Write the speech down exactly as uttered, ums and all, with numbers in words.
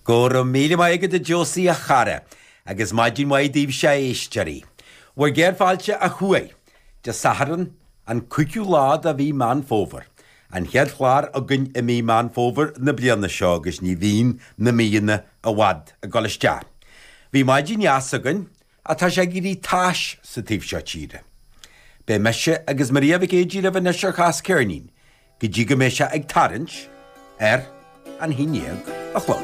Go raibh míle maith agat a Josie a chara, agus maidin mhaith daoibhse a éisteoirí. Bhur gcéad fáilte ó thuaidh, Dé Sathairn, an cúigiú lá de mhí Meán Fómhair. An chéad chlár againn i mí Meán Fómhair na bliana seo agus ní bhíonn na míonna i bhfad ag dul isteach. Bhí maidin dheas againn ach tá sé ag éirí tais sa taobh seo tíre. Beidh mise agus Maria Mhic Éadaigh libh anois ar Chas Ceirnín, go dtí go mbeidh sé ag tarraingt ar an haon déag a chlog.